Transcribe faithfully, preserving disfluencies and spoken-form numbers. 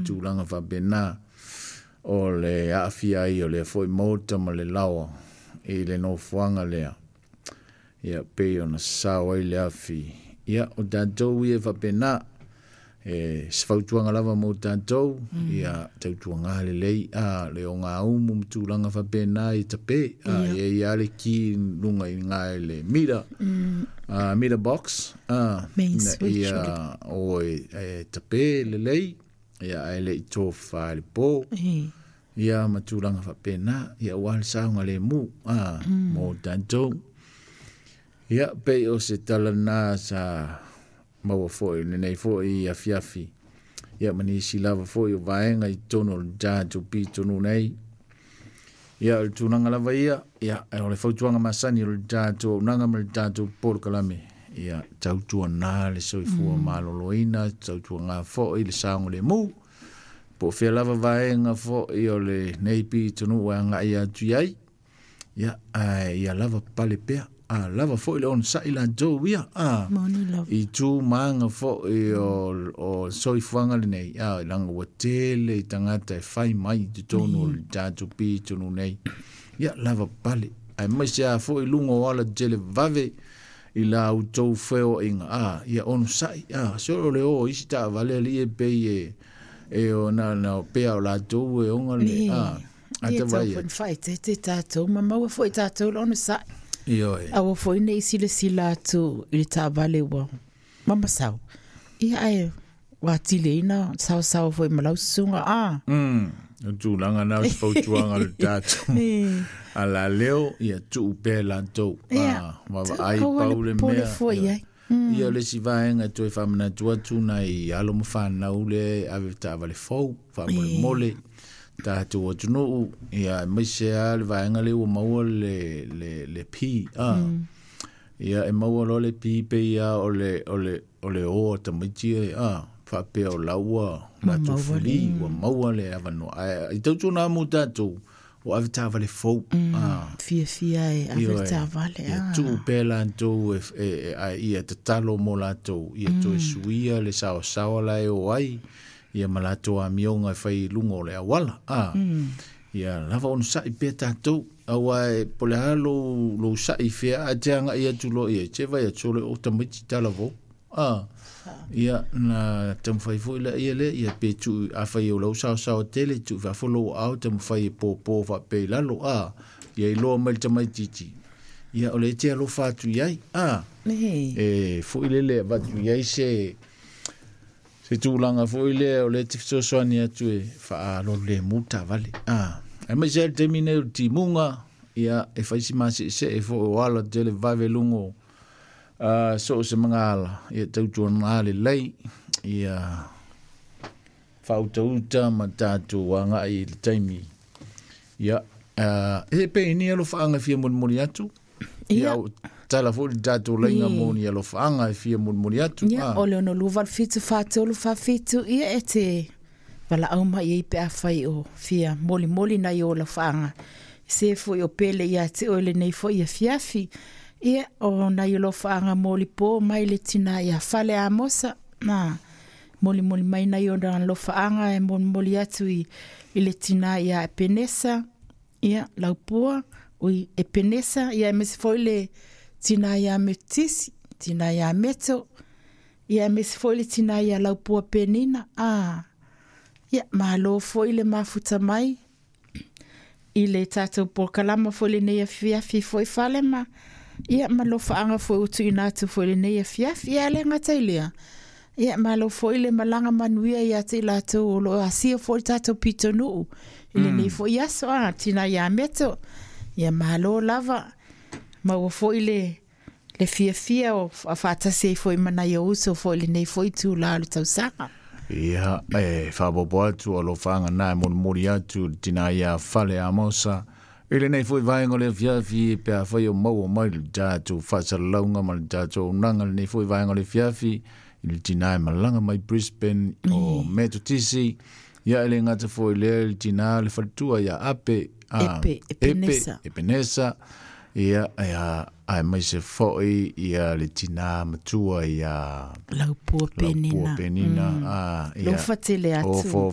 tulaga faapena o le aafia ai o lea foi maota ma le laoa i le nofoaga lea. Ia pei ona sao ai le afi. Ia o tatou ia faapena e se fautuaga lava mo tatou, ia tautuaga lelei a le ogaumu ma tulaga faapena i tape a ia ia le ki luga i ngā le meter uh, meter box a Main switch ia o e, e tape lelei ia ae le i tofa le po E. ia ma tulaga faapena ia ua le saoga lemu a mo tatou. Ia pei o se tala na sa maua foi lenei foi afiafi. Ia ma nisi lava foi o vaega i totonu o le tatou pitonuu nei. Ia o le tulaga lava ia, ia o le fautuaga masani o le tatou auaunaga ma le tatou polokalame. Ia tautuana le soifua mm. maloloina, tautuana foi le saogalemu. Po o fea lava vaega foi o lenei pitonuu e agai atu i ai. Ia, ae ia lava pale pea. A lava foi le onosai latou ia. A, Moni lava. i tu maga foi o, o soifuaga lenei. A, leaga ua tele i tagata e fai mai i totonu o le tatou pitonuu nei. Ia, lava pale. Aemaise a foi luga o ala tele vave i la outou feoaiga. A, ia onosai. A, se o le o isi taavale alii e pei e, e o na, na pea o latou e oga le, a, Ia ata vai tau atu. foi faaeteete tatou ma maua foi tatou le onosai. Ioe. Aua foi nei silasila atu i le taavale ua mamasau. Ia ae ua atili saosaoa foi ma lau susuga a. Mm, o tulaga na o se fautuaga le tatou. E. A la leo, ia tuu pea latou. Ia, Ah, vaavaai aua pau le le popole mea. foi Ia. ai. Ia o le isi vaega e toe faamanatu atu nai alo ma fanau le ave taavale fou, faamolemole, tatou atunuu, ia aemaise lava le vaega lea ua maua le, le, le P. Ah. Ia e maua loa le P pei lava o le, o le, o le o a tamaiti e, ah, faapea o la ua latou fuli, ua maua le avanoa. Ae i tautuana mo tatou, o ave taavale fou. Ah. Fiafia e ave le taavale. Ia A. tuu pea latou e, e, e, a ia tatalo mo latou, ia toe suia le saosaoa la e o ai, ia ma latou amioga e fai i luga o le auala. Ah. Ia lava onosai pea tatou. Aua e po o le a lou, lou sa'i fea ae te agai atu loa i ai, te vaai atu o le o tamaiti talavou. Ah. Ia na taumafai foi la ia lea, ia pe tuu afai o lau saosaoa tele, tuu fafo lou aao taumafai e pōpō faapea i lalo. Ah. Ia iloa mai le tamaitiiti. Ia o le te alofa atu i ai. Ah. E. E foi lele avatu i ai se se tulaga foi lea o le te fesoasoani atu e faalololemu taavale. Ah. Aemaise ai le taimi nei o le timuga, ia e fai si maseesee foi o ala tele vave luga o uh, so o se magala, ia tautuana lelei, ia faautauta ma tatou agai i le taimi. Ia, uh, e pe ni alofaaga e fia molimoli atu. Ia, Ia. o tala foi le tatou laiga mo ni alofaaga e fia molimoli atu. Ia, Ah. o le ono lua valu fitu fā tolu fā fitu, ia e te valaau mai ai pe afai o fia molimoli nai o alofaaga. Se foi o pele ia te oe lenei foi afiafi. Ia, o nai alofaaga molipo mai le tina ia Fale Amosa. Na, molimoli mai nai o na alofaaga e molimoli atu i, i le tina ia Epenesa. Ia, Laupua, ui Epenesa, ia aemaise foi le tina ia Metisi, tina ia Meto. Ia aemaise foi le tina ia Laupua Penina. Ah, ia, malo foi le mafuta mai i le tatou polokalama foi lenei afiafi foi fale ma. Ia, ma alofaaga foi ua tuuina atu foi lenei afiafi. Ia, le gata i lea. Ia, malo foi le malaga manuia ia te i latou o loo asia foi le tatou pitonuu i lenei foi aso a tina ia Meto. Ia, malo lava. Maua foi le le fiafia o faatasi ai foi ma nai ou uso foi lenei foi itulā o le tausaga. Ia, e faaopoopo atu alofaaga na e molimoli atu le tina ia Fale Amosa. I lenei foi vaega o le afiafi pe afai o maua mai le tatou faasalalauga ma le tatou auaunaga lenei foi vaega o le afiafi i le tina e malaga mai Brisbane o Metotisi. Ia e le gata foi lea i le tina le faletua ia Ape. Ah, Epe, Epenesa. Epe, Epenesa. Ia, ia, aemaise foi ia le tina matua ia Laupua Laupua Penina. Penina. Ah, ia. Alofa tele atu. O fo